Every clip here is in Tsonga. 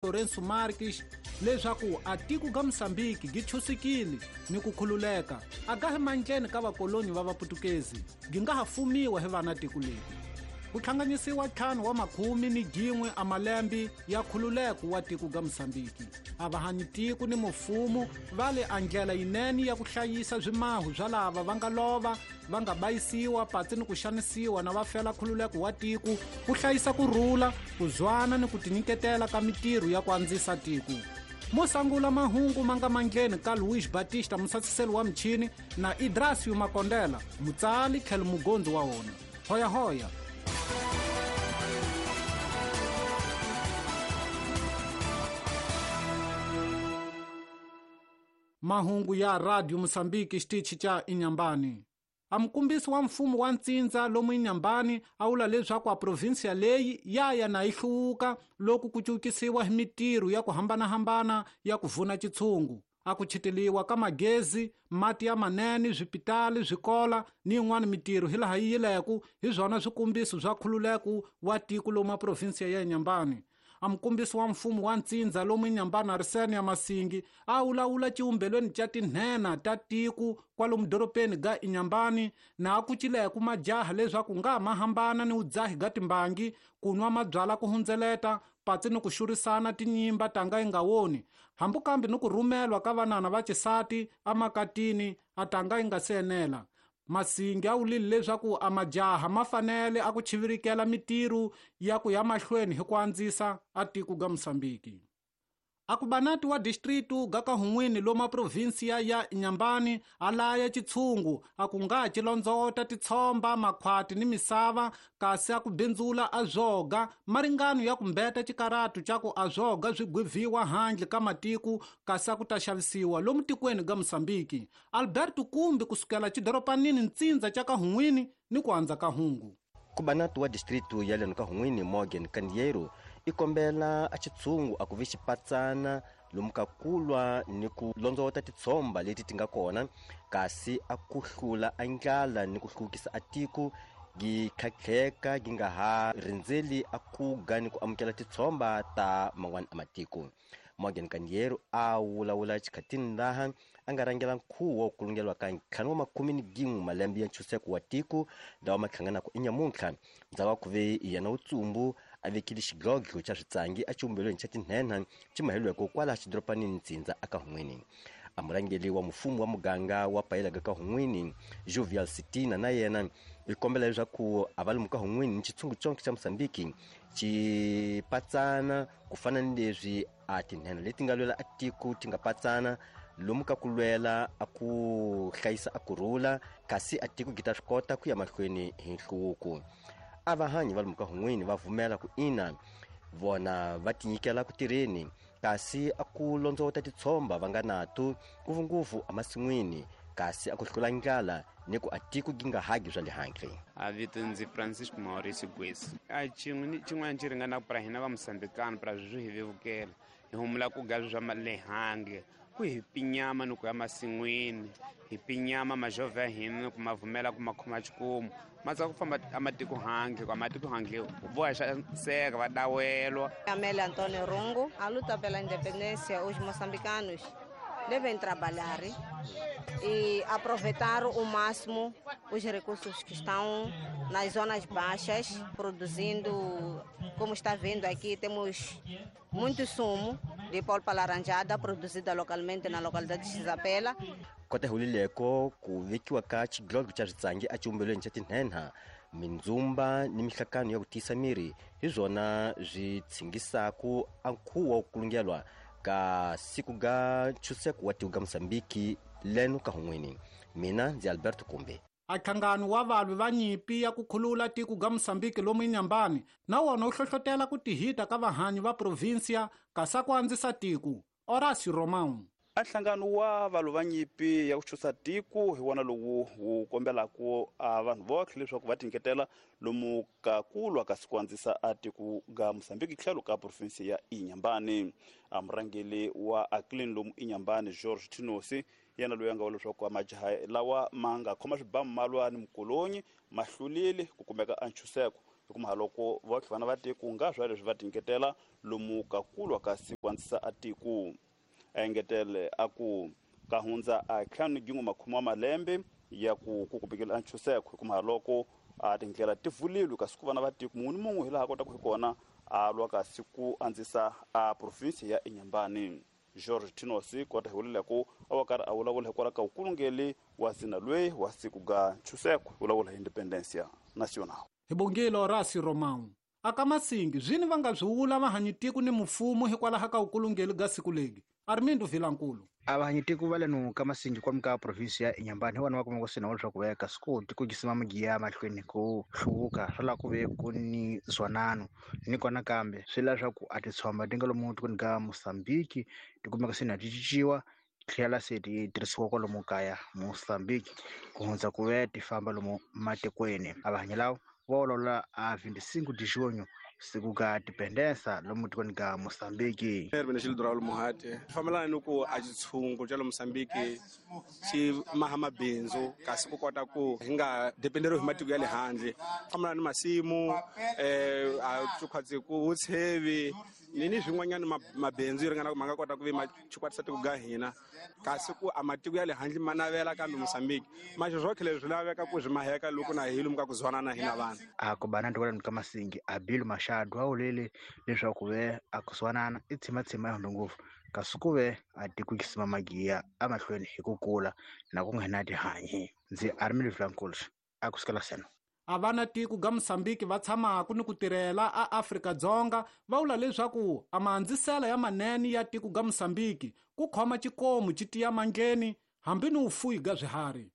Lourenço Marques leswaku a tiko ga Mosambiki gi chusikile ni ku khululeka a ga hi mandleni ka vakoloni va vaputukezi gi nga ha fumiwa hi vana tiko leri. Ku hlanganisiwa 11 wa makhumi ni gin'we a malembe ya khululeko wa tiko ga Mosambiki. A va hanyi tiko ni mufumo va le a ndlela yinene ya ku hlayisa swimahu swa lava va nga lova va nga bayisiwa patsi ni ku xanisiwa na va fela khululeko wa tiko, ku hlayisa ku rhula, ku zwana ni ku tinyiketela ka mitirho ya ku andzisa tiko. Mo sangula mahungu ma nga mandleni ka Luis Batista, musasiseli wa michini, na Idrasio Makondela, mutsali tlhelo mugondzi wa wona. Hoya hoya. Mahungu ya Radio Mosambiki xitichi cha Inhambane. A mukombisi wa mfumo wa ntsindza lomu Inhambane a vula leswaku a provinsia leyi ya ya na yi hluvuka loko ku cukisiwa hi mitirho ya ku hambanahambana ya ku vuna xitshungu. A ku chiteliwa ka magezi, mati ya manene, swipitali, swikola ni yin'wana mitirho hilaha yi yileku hi swona swikombiso swa khululeko wa tiko lomu a provinsia ya Inhambane. A mukombisi wa mfumo wa ntsindza lomu Inhambane Arsênio Masingi a vulavula xivumbelweni xa tinhenha ta tiko kwalomu dorobeni ga Inhambane na a kucileku majaha leswaku nga ma hambana ni vudzahi ga timbangi, ku nwa mabyala ku hundzeleta, patsi ni ku xurisana tinyimba tanga yi nga woni, hambi kambe ni ku rhumelwa ka vanana va xisati emakatini a tanga yi nga se enela. Masingi a vulile leswaku a majaha ma fanele a ku chivirikela mitirho ya ku ya mahlweni hi ku andzisa a tiko ga Mosambiki. A ku banati wa distritu ga Kahungwini lomu provinsia ya Inhambane a laya xitshungu a ku nga xilondzota titshomba, makhwati ni misava, kasi a ku bindzula a zwoga maringano ya ku mbeta xikaratu xa ku a zwoga swi gwivhiwa handle ka matiko kasi a ku ta xavisiwa lomu tikweni ga Mosambiki. Alberto Kumbi kusukela xidoropanini ntsindza xa Kahungwini ni ku andza ka hungu. Kubanati wa distritu ya leno Kahungwini Morgan Kandiero i kombela a xitshungu a ku vi xipatsana lomu ka kulwa ni ku londzota titshomba leti ti nga kona, kasi a ku hlula a ndlala ni ku hluvukisa a tiko gi khakheka gi nga ha rindzeli a kuga ni ku amukela titshomba ta man'wana a matiko. Morgan Kandiero a vulavula xikhatini laha a nga rhangela nkhuvo wa ku kulungeriwa ka 51 malembe ya ntshunxeko wa tiko lawa ma hlanganaka enyamuntlha. Ndzhaku ka ku ve yena Wutsumbu a vekile xidlodlo xa switsangi exivumbelweni xa tinhenha xi maheliweke kwala xidoropanini ntsindza eka Hun'wini. A murhangeri wa mfumo wa muganga wa Payelaga ka Hun'wini Jovial Sitina na yena i kombela leswaku a va lomu ka Hun'wini ni xitshungu conke xa Mosambiki xi patsana ku fana ni leswi a tinhenha leti nga lwela a tiko ti nga patsana lomu ka ku lwela a ku hlayisa a kurhula, kasi a tiko gi ta swi kota ku ya mahlweni hi nhluvuko. A vahanyi va lomu ka Hun'wini va vumela ku ina vona va tinyikela ku tirheni, kasi a ku londzota titshomba va nga nato ngopfungopfu emasin'wini, kasi a ku hlula ndlala ni ku a tiko gi nga hagi swa le handle. A vito ndzi Francisco Mauricio Gwesi. A xin'we ni xin'wana xi ringana pra hina va Mosambikano pra swi hi vevukela hi humula ku ga swa le handle ku hi pinyama ni ku ya masin'wini hi pinyama majovha ya hina ni ku ma vumela ku ma khoma xikomu ma tsaka ku famba amatiko handle ku amatiko handle vo ya xaniseka va dawelwa. Amélia Antônio Rungo, a luta pela independência, os moçambicanos devem trabalhar e aproveitar o máximo os recursos que estão nas zonas baixas, produzindo, como está vendo aqui, temos muito sumo de polpa laranjada produzida localmente na localidade de Xisapela. Kota hulileko ku vekiwa ka xidlodlo xa switsangi exivumbelweni xa tinhenha, mindzumba ni mihlakano ya ku tiyisa miri hi swona swi tshingisaku a nkhuvo wa ku kulungelwa ka siku ga ntshunxeko wa tiko ga Mosambiki leno ka Hun'wini. Mina ndzi Alberto Kumbe. A nhlangano wa valwi va nyimpi ya ku khulula tiko ga Mosambiki lomu Inhambane na wona wu hlohlotela ku tihita ka vahanyi va provinsia kasi ku andzisa tiko. Horácio Romão. A nhlangano wa valwi va nyimpi ya ku chusa tiko hi wona lowu wu kombelaka a vanhu votlhe leswaku va tinyiketela lomu ka ku lwa kasi ku andzisa a tiko ga Mosambiki tlhelo ka provinsi ya Inhambane. A murhangeri wa Aclin lomu Inhambane George Tinosi yena loyi a nga vula leswaku majaha lawa ma nga khoma swibamu ma lwa ni mukolonyi ma hlulile ku kumeka a ntshunxeko hikuva loko votlhe vana va tiko nga swa leswi va tinyiketela lomu ka ku lwa kasi ku andzisa a tiko. A engetele a ku ka hundza a 50 wa malembe ya ku kumekile a ntshunxeko hikuva loko a tindlela ti pfulile kasi ku vana va tiko munhu ni munhu hi laha kotaka hi kona a lwa kasi ku andzisa a province ya Inhambane. George Tinosi kota hi vulela ku a wa karhi a vulavula hikwalaho ka vukulungeli wa zina loyi wa siku ga ntshunxeko vulavula hi Independencia Nacional. Hi bongile Horacio Romão. Aka Masingi zwini va nga byi vula vahanyitiko ni mfumo hikwalaho ka vukulungeli ga siku legi. Armindo Vilankulu. A vahanyitiko va leno ka Masingi kwalomu ka provinsi ya Inhambane hi vona va kuma ku sina leswaku va ya ka siku tiko jisima magiya mahlweni ku hluvuka swi lava ku ve ku ni zwanano ni kona kambe swi lava leswaku a titshomba ti nga lomu tikweni ka Mozambique ti kumeka se na ti cinciwa tlhela se ti tirhisiwa kwalomu kaya Mozambique ku hundza ku ve ti famba lomu matikweni. A vahanyi lava va olola a 25 de junho siku ka independence lomu tikweni ka Mozambique. Erwin Muhate fambelana ni ku a xitshungu xa le Mozambique xi maha mabindzu kasi ku kota ku hi nga dependeriwi hi matiko ya le handle, fambelana ni masimu a tshukhwatsi ku tshevi ni swin'wanyana mabindzu yi ringana ku ma nga kota ku vi ma chukwatisa tiko ga hina, kasi ku a matiko ya le handle ma navela kambe Mozambique maxo swotlhe leswi swi laveka ku swi maheka loko na hi lomu ka ku zwanana hina vanhu. A ku bana ndzi ka Masingi a Bill Mashado a wulele leswaku ve a ku zwanana i tshimatsima ya ngopfu kasi ku ve a tiko xisima magiya emahlweni hi ku kula na ku nghena tihanyi. Ndzi Armindo Vilankulu a ku sukela seno. A vana tiko ga Mozambique va tshamaka ni ku tirhela a Afrika-Dzonga va vula leswaku a maandzisela ya manene ya tiko ga Mozambique ku khoma xikomu xi tiya mandleni hambi ni vufuwi ga swiharhi.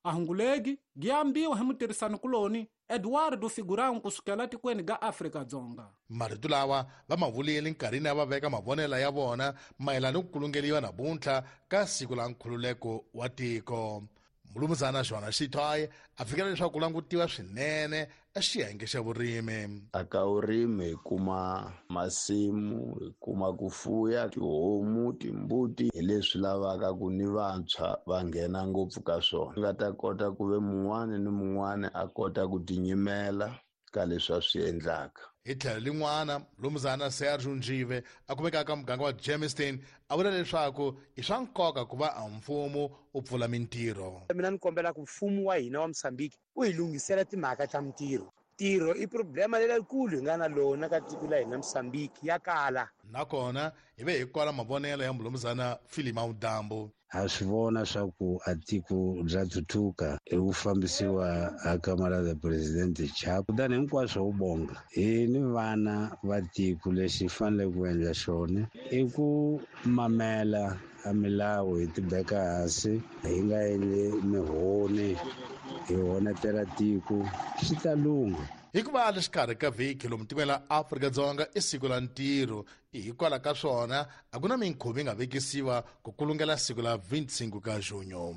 A hungulegi giambiwa hi mutirhisani kuloni Eduardo Figurão kusukela tikweni ga Afrika-Dzonga. Marito lawa va ma vulile nkarhini ya va veka mavonelo ya vona mayelana ni ku kulungeliwa namuntlha ka siku la nkhululeko wa tiko. Mulumuzana Joana Xitwayi a fikela leswaku ku langutiwa swinene exiyenge xa vurimi. Aka vurimi hi kuma masimu, hi kuma ku fuya tihomu, timbuti, hi leswi lavaka ku ni vantshwa va nghena ngopfu ka swona. Nga ta kota ku ve mun'wana ni mun'wana a kota ku tinyimela ka leswi a swi endlaka. Hi tlhelo lin'wana, Mulumuzana Sergio Njive a kumekaka ka muganga wa Germiston a vula leswaku i swa nkoka ku va a mfumo u pfula mintirho. Mina ni kombela ku mfumo wa hina wa Mozambique u hi lunghisela timhaka ta mintirho. Ntirho i problema leyikulu hi nga na lona ka tiko la hina Mozambique ya kala. Nakona hi ve hi kwala mavonelo ya Mulumuzana Filima Udambu. Ha swi vona swa ku a tiko bya thuthuka hi ku fambisiwa ha camarada presidente Chapo, kutani hinkwaswo wu bonga hi ni vana va tiko. Lexi faneleke ku endla xona i ku mamela a milawu, hi tibeka hansi, hi nga endli mihoni, hi honetela tiko, swi ta lungha. Hikuva le xikarhi ka vhiki lomu tikweni la Afrika-Dzonga i siku la ntirho, hikwalaho ka swona a ku na minkhuvo yi nga vekisiwa ku kulungela siku la 25 ka junho.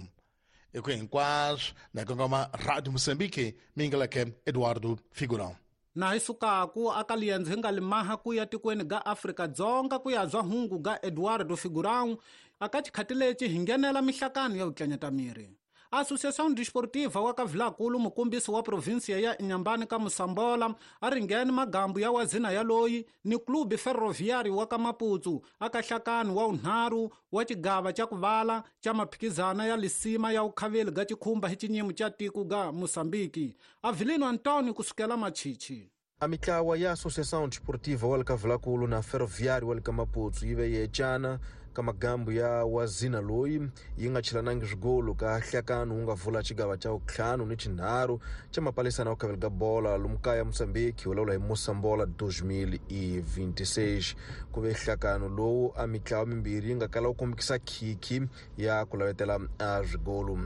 I ku hinkwaswo na kongoma Radio Mozambique mingaleke Eduardo Figurão. Na hi sukaku aka liendzo hi nga limaha ku ya tikweni ga Afrika-Dzonga ku ya zwa hungu ga Eduardo Figurão aka xikhati lexi hi nghenela mihlakano ya vutlanyata miri. Associação Desportiva wa ka Vilakulu mukombisi wa provinsia ya Inhambane ka Mosambola a ringene magambu ya wazina ya loyi ni Clube Ferroviário wa ka Maputo aka hlakani wa unharhu wa xigava xa kuvala xa maphikizana ya lisima ya ukhaveli ga xikhumba hi xinyimo xa tiko ga Mozambique. Avelino Antonio kusukela Machichi. A mitlawa ya Associação Desportiva wa le ka Vilakulu na Ferroviário wa le ka Maputo yi ve yecana ka magambu ya wazina loyi yi nga chilanangi swigolo ka hlakano wu nga vula xigava xa vutlhanu ni xinharhu xa mapalisana wa khaveli ka bola lomu kaya Mozambique wu lawula hi Mosambola 2026. Ku ve hlakano lowu a mitlawa mimbirhi yi nga kala wu kombekisa khikhi ya ku lavetela a swigolo.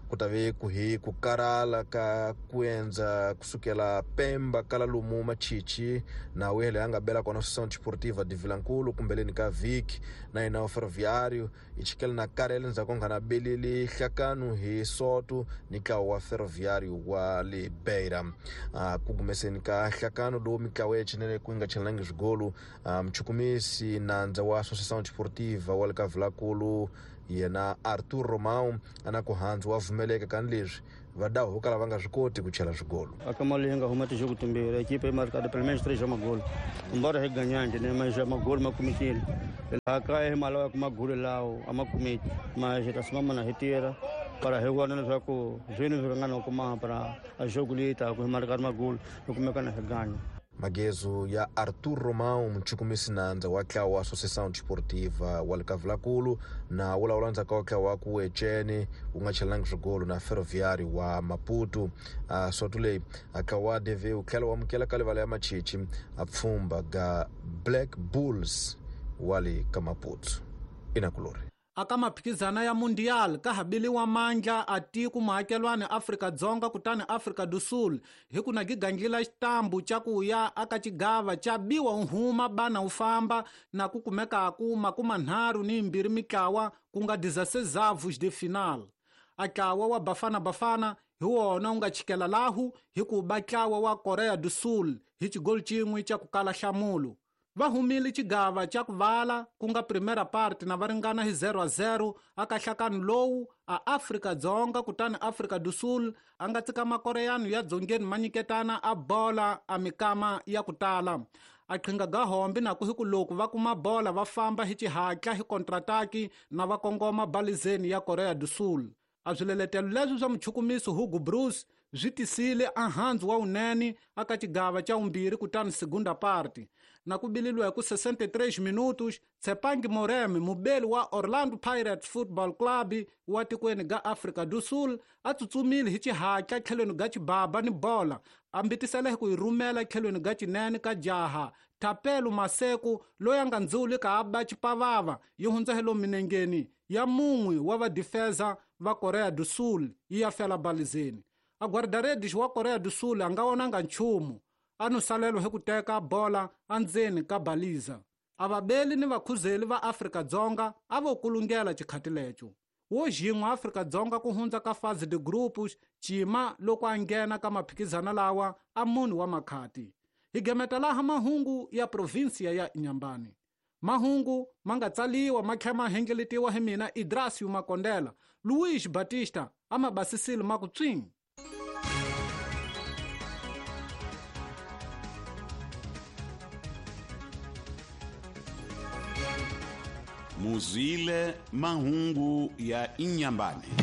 Ku ta ve ku hi ku karhala ka ku endza kusukela Pemba kala lomu Machichi na wele a nga bela kona Associação Desportiva de Vilankulu kumbeleni ka vhiki na yena Ferroviário i chikele na karele ndzhaku nga na beleli hlakano hi soto ni ntlawa wa Ferroviário wa le Beira. Ku gumeseni ka hlakano lowu mitlawa ya chinele ku nga chelangi swigolo, mchukumisi nandza wa Associação Desportiva wa le ka Vilakulu yena Arthur Romão ana ku handzu wa vumeleka kan leswi Va dawu vo kala va nga swi koti ku chela swigolo. Aka mali yi nga huma tijogo timbirhi, ekipa yi marikati pelo menos 3 magolo. Embora hi ganyangi ne mas magolo ma kumekile. Laha kaya hi ma lavaka magolo lawo a ma kumeki. Mas hi ta simama na hi tirha para hi vona leswaku zwini swi ringana ku maha para a jogo leyi taka hi marikati magolo hi kumeka na hi ganya. Magezo ya Arthur Romão, muchukumisi nandza wa ntlawa wa Associação Desportiva wa le Kavulakulu, na wu lawula ndzhaku ka ntlawa wa ku Echene wu nga chelangi swigolo na Ferroviário wa Maputo. Soto leyi ntlawa wa DV wu tlhela wu amukela ka livala ya Machichi a pfhumba ga Black Bulls wa le ka Maputo. Inakulori. Aka maphikizana ya Mundial ka ha biliwa mandla a tiko muakelwani Afrika-Dzonga kutani Afrika do Sul hi ku na gigangila xitambu xa ku ya aka xigava xa biwa u huma bana u famba na ku kumekaku 32 mitlawa ku nga 16 avos de final. A ntlawa wa Bafana Bafana hi wona wu nga chikela lahu hi ku ba ntlawa wa Korea do Sul hi xigolo xin'we xa ku kala nhlamulo. Va humile xigava xa ku vala ku nga primera parte na va ringana hi 0-0 aka nhlakano lowu a Afrika-Dzonga kutani Afrika do Sul a nga tsika makoreyano ya dzongeni ma nyiketana a bola a mikama ya ku tala. A qhinga ga hombi na ku hi ku loko va kuma bola va famba hi xihatla hi kontrataki na va kongoma balizeni ya Korea do Sul. A swileletelo leswi swa muchukumisi Hugo Broos swi tisile ahandzu wa wunene aka xigava xa vumbirhi kutani segunda parte. Na ku bililiwa hi ku 63 minutos, Tsepangi Moremi, mubeli wa Orlando Pirates Football Club wa tikweni ga Afrika do Sul, a tsutsumile hi xihatla tlhelweni ga xibaba ni bola, a mbitisela hi ku yi rhumela tlhelweni ga xinene ka jaha Thapelo Maseko loyi a nga ndzuli ka a ba xipavava yi hundza hi lomu minengeni ya mun'we wa vadifeza va Korea do Sul yi ya fela balizeni. A guarda-redes wa Korea do Sul a nga vonanga nchumu, a no salelwa hi ku teka bola endzeni ka baliza. A vabeli ni vakhuzeli va Afrika-Dzonga a vo kulungela xikhati lexo. Wo xin'we Afrika-Dzonga ku hundza ka fase de grupos cima loko a nghena ka maphikizana lawa a munhu wa makhati. Hi gemeta laha mahungu ya provinsia ya Inhambane. Mahungu ma nga tsaliwa ma tlhela ma hengeletiwa hi mina Idrasio Makondela, Luiz Batista a ma basisile ma ku tswing. Muzwile mahungu ya Inhambane.